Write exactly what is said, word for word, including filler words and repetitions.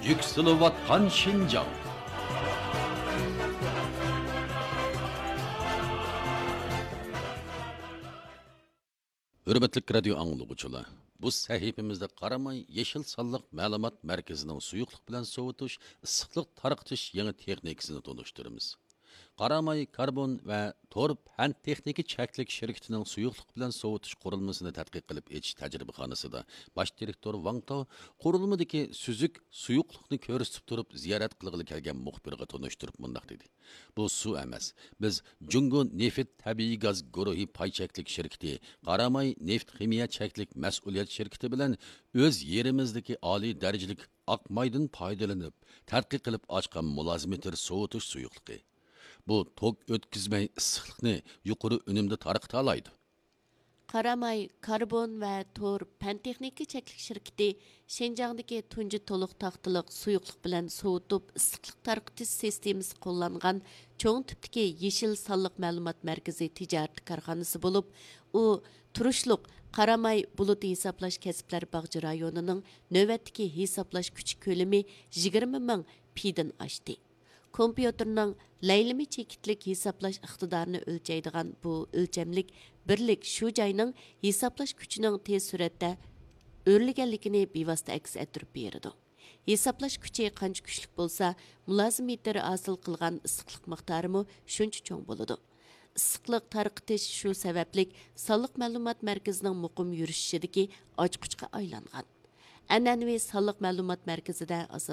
يۈكسىلىۋاتقان شىنجاڭ. ھۆرمەتلىك رادىيو ئاڭلىغۇچىلار، بۇ سەھىپىمىزدە قاراماي يېشىل سانلىق مەلۇمات مەركىزىنىڭ سۇيۇقلۇق بىلەن سوۋۇتۇش، ئىسسىقلىق تارقىتىش يېڭى تېخنىكىسىنى تونۇشتۇرىمىز. قاراماي كاربون ۋە تور پەن تېخنىكا چەكلىك شىركىتىنىڭ سۇيۇقلۇق بىلەن سوۋۇتۇش قۇرۇلمىسىنى تەتقىق قىلىپ ئېچىش تەجرىبىخانىسىدا باش دىرېكتور ۋاڭ تاۋ قۇرۇلمىدىكى سۈزۈك سۇيۇقلۇقنى كۆرسىتىپ تۇرۇپ، زىيارەت قىلغىلى كەلگەن مۇخبىرغا تونۇشتۇرۇپ مۇنداق دېدى: بۇ سۇ ئەمەس. بىز جۇڭگو نېفىت تەبىئىي گاز گۇرۇھى پاي چەكلىك شىركىتى قاراماي نېفىت خىمىيە چەكلىك مەسئۇلىيەت شىركىتى بىلەن ئۆز يېرىمىزدىكى ئالىي دەرىجىلىك ئاق مايدىن پايدىلىنىپ تەتقىق قىلىپ ئاچقان مۇلازىمېتىر سوۋۇتۇش سۇيۇقلۇقى. بۇ توك ئۆتكۈزمەي ئىسسىقلىقنى يۇقىرى ئۈنۈمدە تارقىتالايدۇ. قاراماي كاربون ۋە تور پەن تېخنىكا چەكلىك شىركىتى شىنجاڭدىكى تۇنجى تولۇق تاختىلىق سۇيۇقلۇق بىلەن سوۋۇتۇپ ئىسسىقلىق تارقىتىش سىستېمىسى قوللانغان چوڭ تىپتىكى يېشىل سانلىق مەلۇمات مەركىزى تىجارىتى كارخانىسى بولۇپ، ئۇ تۇرۇشلۇق قاراماي بۇلۇت ھېسابلاش كەسىپلەر باغچە رايونىنىڭ نۆۋەتتىكى ھېسابلاش كۈچى كۆلىمى يىگىرمە مىڭ پىدىن ئاشتى. كومپيۇتېرنىڭ لەيلىمە چېكىتلىك ھېسابلاش ئىقتىدارىنى ئۆلچەيدىغان بۇ ئۆلچەملىك بىرلىك شۇ جاينىڭ ھېسابلاش كۈچىنىڭ تېز سۈرئەتتە ئۆرلىگەنلىكىنى بىۋاسىتە ئەكس ئەتتۈرۈپ بېرىدۇ. ھېسابلاش كۈچى قانچە كۈچلۈك بولسا، مۇلازىمېتىر ھاسىل قىلغان ئىسسىقلىق مىقدارىمۇ شۇنچە چوڭ بولىدۇ. ئىسسىقلىق تارقىتىش شۇ سەۋەبلىك سانلىق مەلۇمات مەركىزىنىڭ مۇقىم يۈرۈشۈشىدىكى ئاچقۇچقا ئايلانغان. ئەنئەنىۋى سانلىق مەلۇمات مەركىزىدە ئاساس